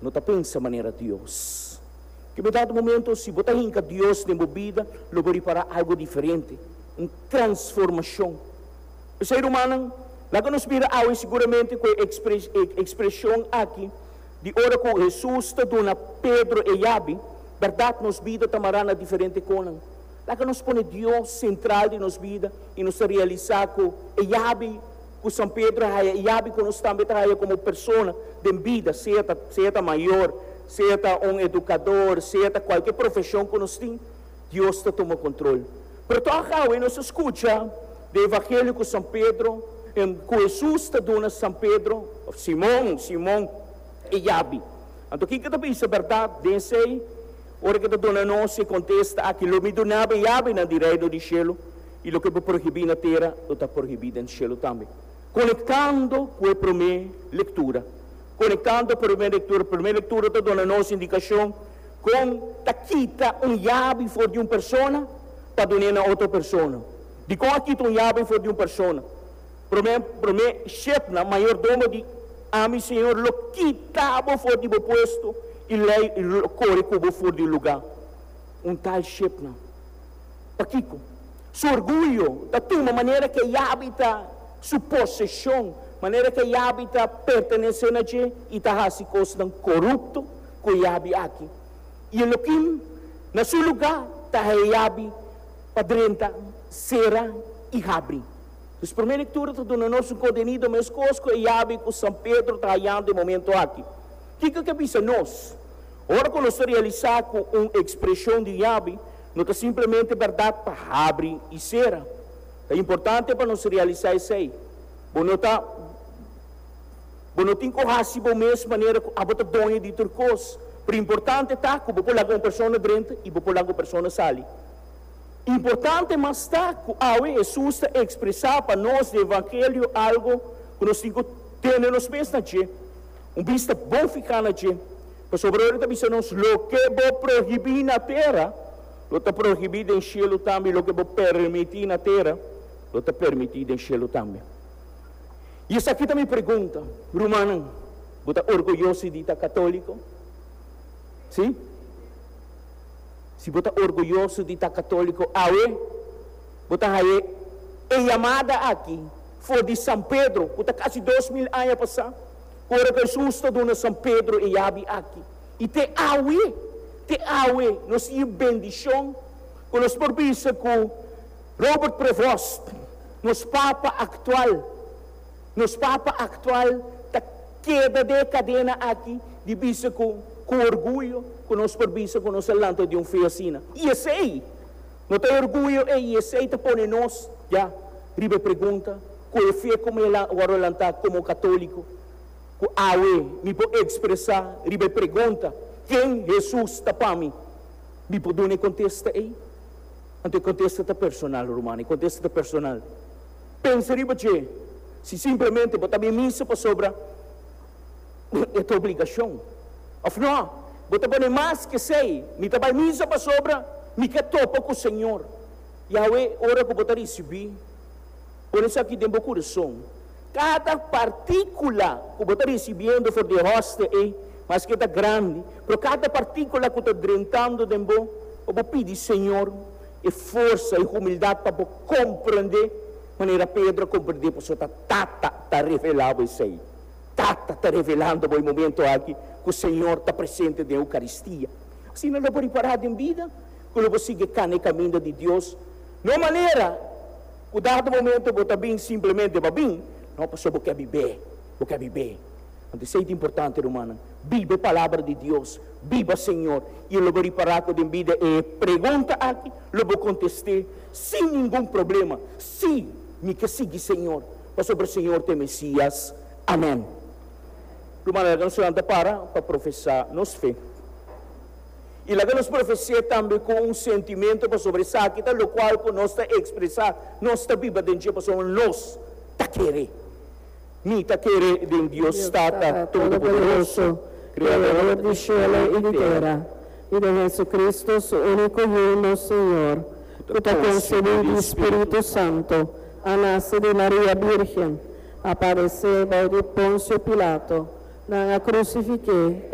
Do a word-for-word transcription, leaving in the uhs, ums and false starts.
No ta pensa manera Dios. Ku dado momento, si bo ta hinka Dios den bo bida, lo bo ripará algu diferente, un transformashon. P'esei, rumannan, laga nos mira awe siguramente ku e ekspreshon aki di ora ku Hesus ta duna Pedro e yabi, berdat, nos bida ta mará na diferente kos. Laga nos pone Dios sentral di nos bida i nos realisá ku e yabi ku San Pedro a haya, e yabi ku nos tambe ta haya komo persona di bida, sea sea mayor, sea un edukadó, sea kualke profeshon ku nos tin, Dios ta tuma kontrol. Pero toch nos a skucha di evangelio ku San Pedro, ku Hesus ta duna San Pedro, Simon, Simon, e yabi. Anto, kiko ta pensa, berdat, den esei, ora ku e ta duna nos e kontesta aki: "Lo mi duna bo yabinan di reino di shelu, i loke bo prohibí na tera, lo ta prohibí den shelu tambe." Konektando ku e promé lektura. Konektando ku e promé lektura. Promé lektura ta duna nos indikashon kon ta kita un yabi for di un persona pa duna na otro persona. Di kon kita un yabi for di un persona. Promé, promé Shebna, mayordomo di: "Ami, Señor, lo kita bo for di bo puesto i lei lo kore ku bo for di lugá." Un tal Shebna. Pakiko? Su orguyo ta tuma manera ku yabi ta su poseshon, manera ku yabi ta pertenesé na dje i ta hasi kos korupto ku yabi aki. I Eliakim, na su lugá, ta yabi pa drenta, sera i habri. E promé lektura ta duna nos un kontenido meskos ku yabi ku San Pedro ta hayando e momento aki. Kiko ke bisa nos? Ora ku nos realisá ku un ekspreshon di yabi, no ta simplemente berdat pa habri i sera. Ta importante pa nos realisá esei. Bo no ta bo no tin ku hasi bo mes manera ku abo ta doño di tur kos. Pero importante ta ku bo por laga un persona drenta i bo por laga un persona sali. Importante mas ta ku awe Hesus ta ekspresá pa nos di evangelio algu ku nos tin ku tene nos mes na dje. Un bista bon fiká na dje. Pasobra e ta bisa nos: "Loke bo prohibí na tera, lo ta prohibí den shelu tambe, loke bo permití na tera, lo ta permití den shelu tambe." I esaki ta mi pregunta, rumannan: bo ta orguyoso di ta katóliko? Si? Si bo ta orguyoso di ta katóliko, awe, bo ta haya e yamada aki, for di San Pedro, ku ta kasi dos mil aña pasá, ora ku Hesus ta duna San Pedro e yabi aki. I te awe, te awe, nos tin bendishon, ku nos por bisa ku Robert Prevost, nos Papa aktual, nos Papa aktual, ta keda den kadena aki, di bisa ku, ku orguyo, ku nos por bisa ku nos a lanta di un fe asina. I esei, no ta orguyo, i esei ta pone nos, ya, riba pregunta, ku e fe komo el a lanta komo katóliko, ku awe mi por ekspresá riba pregunta: "Ken Hesus ta pa mi?" Mi por duna kontesta ei? Anto kontesta ta personal, ruman, kontesta ta personal. Pensa riba dje, si simplemente bo ta bai misa pasobra e ta obligashon. Òf no, bo ta pone mas ku esei: "Mi ta bai misa pasobra mi ke topa ku Señor." I awe, ora ku bo ta risibí, pone esaki den bo kurason. Kada partíkula ku bo ta risibiendo for di hostia, eh, maske ta grandi, pero kada partíkula ku ta drentando den bo, bo pidi Señor e forsa i humildat pa komprondé, manera Pedro komprondé, pasobra Tata ta revelando esei. Tata ta revelando e momento aki ku Señor ta presente na Eukaristia. Asina no por ripará den bida, ku bo sigui kana kaminda di Dios. No manera, ku dado momento bo ta bin simplemente pa bin, no, pasobra bo ke biba, bo ke biba. Anto, esei ta importante, ruman. Biba e palabra di Dios, biba Señor. I lo bo ripará ku den bida e pregunta aki, lo bo kontestá sin ningun problema: "Si, mi ke sigui Señor, pasobra Señor ta Mesias." Amèn. Ruman, nos ta para pa profesá nos fe. I laga nos profesá tambe ku un sentimentu pasobra esaki, ta lokual ku nos ta ekspresá, nos ta biba den pasobra nos ta kere. Mi ta kere den Dios Tata Todopoderoso, Kreador di shelu i di tera, i di Hesukristu, su úniko Yu, nos Señor, ku ta konsebí di Spiritu Santu, a nase di Maria Virgen, a padesé bou di Ponsio Pilato, nan a krusifik'é.